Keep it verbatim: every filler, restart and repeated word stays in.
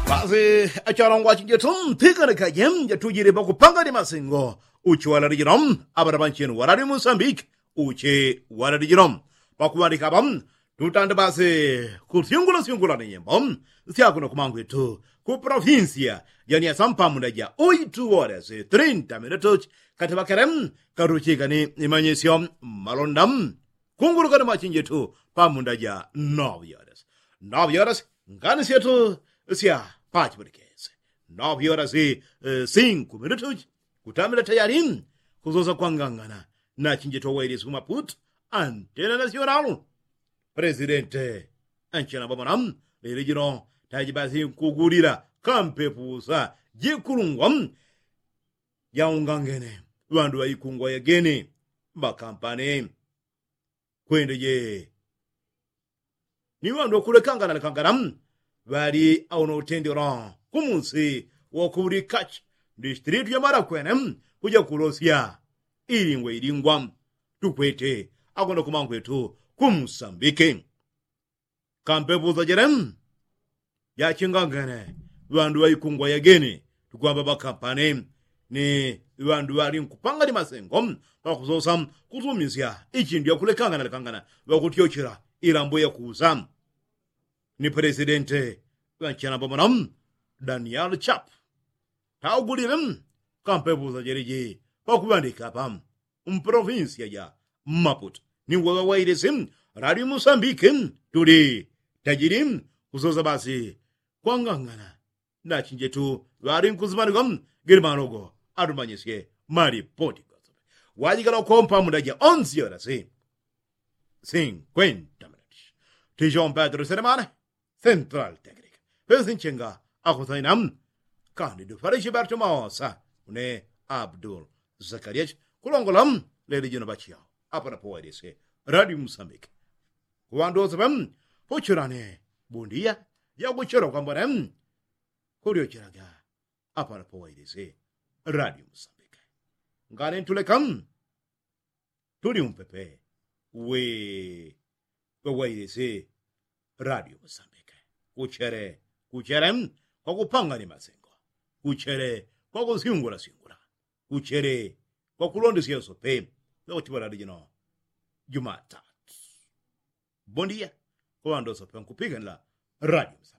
Basi achalongwa chinjetu mpikana kaje jatujile pakupanga ni masingo. Uchi walali jino abana banchenu walali musambiki. Uchi walali jino pakuwandika apa tutande basi kusyungula syungula ni nyimbo syakuno kumangwitu ku provinsia janiasa mpamunda ja uitu wodasi trinta minutuchi. Katibakele katuchika ni imanyisyo malonda kunguluka ni machinjetu pamunda ja novyoles novyoles. Ngani syetu sya pachipulikesi novyoles sinku minutuchi. Kutamila tayali kusosa kwangangana na chinjetu wailisi kumaputu antena nasyonalo. Presidente anchena bamona lili jino taji basi nkugulila kampepusa jikulungwa jaungangene ŵandu ŵaikungwa yagene makampani. Kwende je ni ŵandu ŵakulekangana lekangana ŵali auna utendela kumusi wakulikachi ndistilitu yamala kwene kuja kulosya ilingwa ilingwa tukwete akwenda kumangwetu kumusambike. Kampepusa jele jachingangene ŵandu ŵaikungwa yagene tukwamba ŵakampani ni ŵandu ŵali nkupanga ni masengo ŵakusosa kusumisya ichindu yakulekangana lekangana ŵakutyochela ilambo yakusa. Ni presidente ŵanchena pamona daniel chap taugulile kampepusa jeleji pakuŵandika apa mprovinsia ja maputu ni weŵe wailisi lali musambiki tuli tajili kusosa basi kwangangana nachinjetu ŵali nkusimanika. Gili manogo atumanyisye malipoti gose wajikala ukompa muda ja onsi yorasi sinkwenta minuti. Tichompa tuliselemane central technic pesinchenga akusaina kandi dufalishi bartumaosa une abdul zakariachi kulongola leli jino bachiao apanapo wailisi radio musambiki. Kuŵandu wose ŵe puchilane bundiya yakuchela kwambone kulyochelaga apanapo wailisi radio musambiki. Ngane ntuleka tuli umpepe we wewailisi radio musambiki. Kuchele kuchele kwakupanga ni masengo kuchele kwakusyungula syungula kuchele kwakulondesya yosope. Yakuchiŵalali jino jumatatu bondia kwaŵandu wosope nkupikanila radio musambiki.